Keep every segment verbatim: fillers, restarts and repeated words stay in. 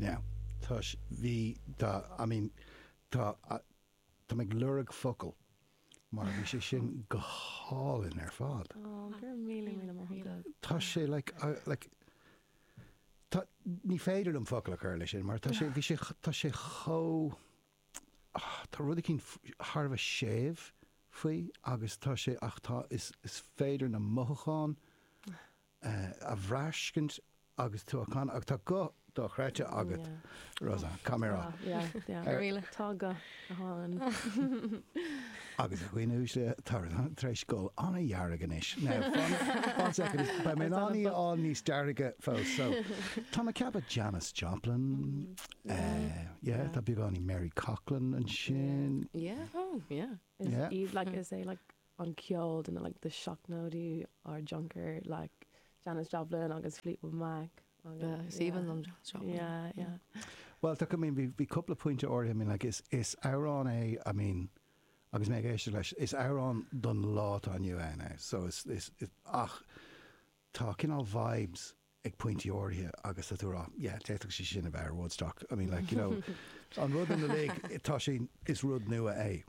Now, tá bhí tá I mean tá tá mé ag lorg focal mar bhí sé sin go hálainn ar fad. Oh, gur míle míle maith. Tá sé like uh, like tá ní féidir liom focal a chur leis sin mar tá sé bhí sé tá sé chomh ah, tá rud éicint thar a bheith séimh faoi agus tá sé ach tá is is féidir na mothúcháin uh, a bhraithscint agus tú can ach tá guth dochreidte agat Rosanna camera Tá go hálainn. Agus a dhaoine uaisle tá tar éis dul an-dhearg anois. Ba mé í á níos dearga fós so. Tá mé ag ceapadh Janis Joplin uh, tá beagáinín Mary Coughlan ansin. Yeah, oh, yeah. Is Yeah. iad like is é like an ceol den like the seachtóidí ár dtionchar like Janis Joplin agus Fleetwood Mac. Yeah, Stephen um Janis Joplin. Yeah, yeah. Well tá I mean bhí bhí cúpla pointe áirithe I mean like is is amhrán é I mean agus mé ag éisteacht leis is amhrán don lá atá inniu ann é so is is is ach tá cineál vibes ag pointí áirithe agus tá tú rá yeah d'fhéadfadh sé sin a bheith ar Woodstock I mean like you know an rud in the tá sé is rud nua é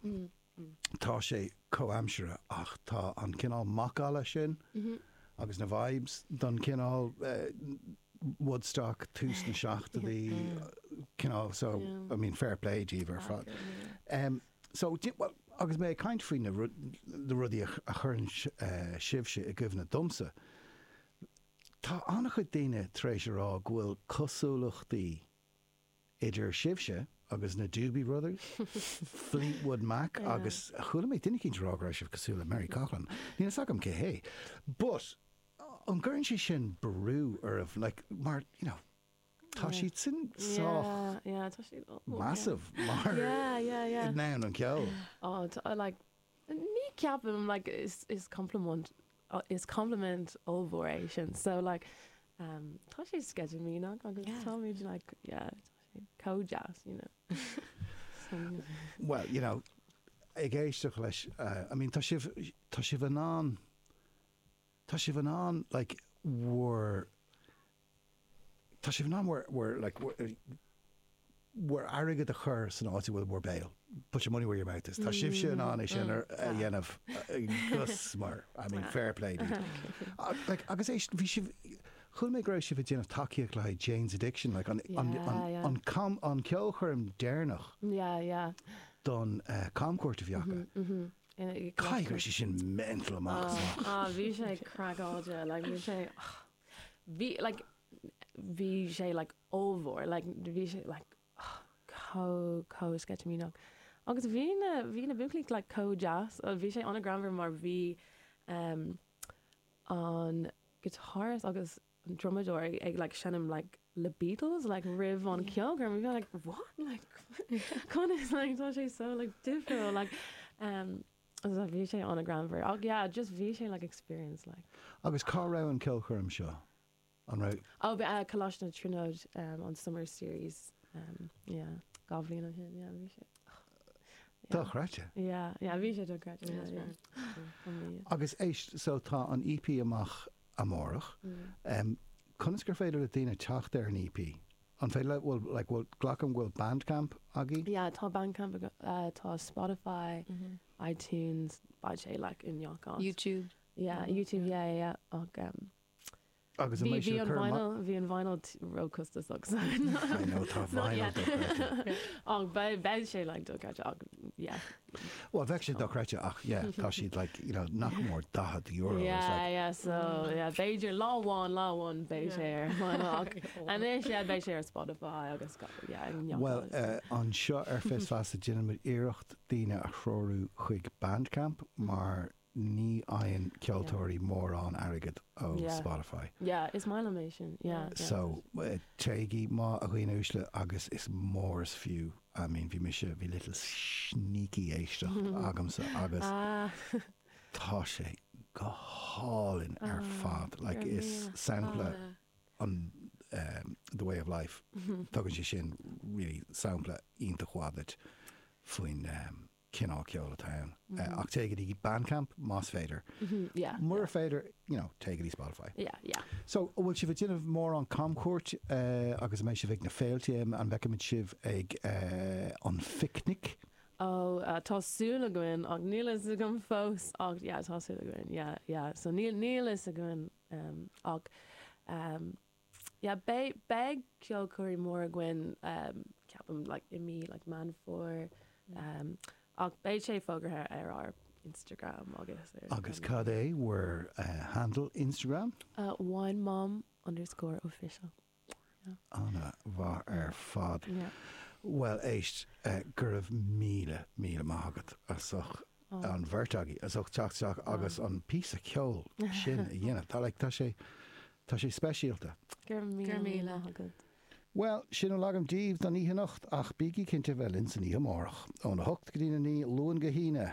Mm. tá sé comhaimseartha ach tá an cineál macalla sin Mhm. agus na vibes don cineál uh, Woodstock tús na seachtóidí cineál so Yeah. I mean fair play díobh ar fad. Um, so di- well, agus mé ag caint faoi na rud- na rudaí a ch- a chuireann uh, sibhse i gcuimhne domsa. Tá an-chuid daoine tar éis a rá go bhfuil cosúlachtaí idir sibhse agus na Doobie Brothers, Fleetwood Mac Yeah. agus chuala mé duine éicint rá go raibh sibh cosúil le Mary Coughlan. Níl a fhios agam cé hé. But an gcuireann sé sin brú oraibh like, mar you know, tá Yeah. siad sin sách Yeah, yeah, tá siad oh, yeah. massive mar Yeah, yeah, yeah. ná an ceol. Oh, t- uh, like ní ceapaim like is is compliment uh, is compliment ollmhór é sin. So like um tá sé sceitimíneach agus Yeah. táimid like yeah, tá sé chomh deas, you know. So, Well, you know, ag éisteacht leis uh, I mean tá sibh tá sibh in ann tá sibh in ann like bhur tá sibh in ann bhur bhur like bhur bhur airgead a chur san áit a bhfuil bhur béal. Put your money where your mouth is. Tá sibhse in ann é sin ar a dhéanamh gus mar I mean fair play. dude. Uh, like agus éist bhí sibh chuala mé go raibh sibh ag déanamh tacaíocht le Jane's Addiction like an an Yeah, an yeah. an com an ceolchoirm deireanach yeah, yeah. don uh, camchuairt a bhí acu. Mhm. Mm Caithfidh go raibh sé sin mental amach is amach. Ah, bhí sé craiceáilte, like bhí sé bhí like bhí sé like ollmhór, like bhí sé like chomh chomh sceitimíneach. Agus bhí na bhí na buachaillí like chomh deas, uh, bhí sé an-ghreannmhar mar bhí um, an guitarist agus an drumadóir ag like seinm like le Beatles like roimh an ceolchoirm bhí like what like conas like tá sé so like difriúil like um so bhí sé an-ghreannmhar ach yeah just bhí sé like experience like Agus cá raibh an ceolchoirm seo? An raibh oh but uh, Coláiste na Tríonóide um, on summer series um, yeah dhá bhliain ó shin yeah bhí sé Dochreidte. yeah yeah bhí sé dochreidte Yeah, yeah, that's yeah. right. yeah. Agus éist so tá an EP amach amárach. Mm. Um, conas gur féidir le daoine teacht ar an EP? An féidir le bhfuil like bhfuil glacaim bhfuil Bandcamp agaibh? Yeah, tá Bandcamp aga- uh, tá Spotify, Mhm. iTunes, beidh sé like i ngach áit. YouTube. Yeah, Mhm. YouTube, yeah, yeah, yeah. Ach, um, Agus an bhí mbeidh bhí sibh an cur amach- vinyl, bhí an vinyl t- róchostasach so I know tá Not vinyl yet. dochreidte. Ach beidh beidh sé like dochreidte ach yeah. Well bheadh sé dochreidte ach yeah tá siad like you know nach mór daichead euro. It's Yeah, like, yeah, so yeah, b'fhéidir lá amháin lá amháin beidh sé ar vinyl ach anois yeah beidh sé ar Spotify agus go- yeah, i ngach Well, áit. uh, anseo ar Fios Feasa déanaimid iarracht daoine a threorú chuig Bandcamp mar ní fhaigheann ceoltóirí mórán airgead ó Yeah. Spotify. Yeah, is maith liom é sin. Yeah, yeah. So uh, téigí má a dhaoine uaisle agus is mór is fiú. I mean bhí mise bhí little sneaky éisteacht agamsa agus Ah, tá sé go hálainn ar Ah, fad. Like go is raibh sampla Oh, an um, the way of life. Mm-hmm. Tugann sé sin really sampla iontach mhaith duit faoin um, cineál ceoil atá ann. Uh, ach téigh go dtí Bandcamp más féidir. Mhm, yeah. Mura féidir, you know, téigh go dtí Spotify. Yeah, yeah. So bhfuil sibh ag déanamh mórán camchuairt uh, agus an mbeidh sibh ag na féilte an bhfeicfimid sibh ag uh, an phicnic? Oh, uh, tá súil againn ach níl a fhios agam fós ach yeah, tá súil againn yeah, yeah. So níl níl a fhios againn um, ach um, yeah, beidh beidh ceolchoirm mór againn um, ceapaim like, i mí like, Meán Fómhair um, ach beidh sé fógartha ar ár Instagram agus ar Agus cad é bhur uh, handle Instagram? uh, wine mom underscore official. Ana mhaith ar fad. Yeah. Well éist uh, go raibh míle míle maith agat as ucht Oh. an bheirt agaibh as ucht teacht isteach agus an píosa ceoil sin a dhéanamh. Tá like, tá sé tá sé speisialta. Gur Gur míle. maith agat. Well, sin a bhfuil agam daoibh don oíche anocht ach bígí cinnte bheith linn san oíche amárach. Óna hocht go dtí a naoi Luan go hAoine.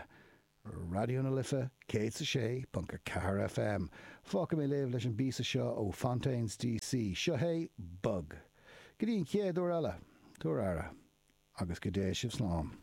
Raidió na Life, céad a sé, ponc a ceathair FM. Fágfaidh mé libh leis an bpíosa seo ó Fontaines DC. Seo é Bug. Go dtí an chéad uair eile, tabhair aire, agus go dté sibh slán.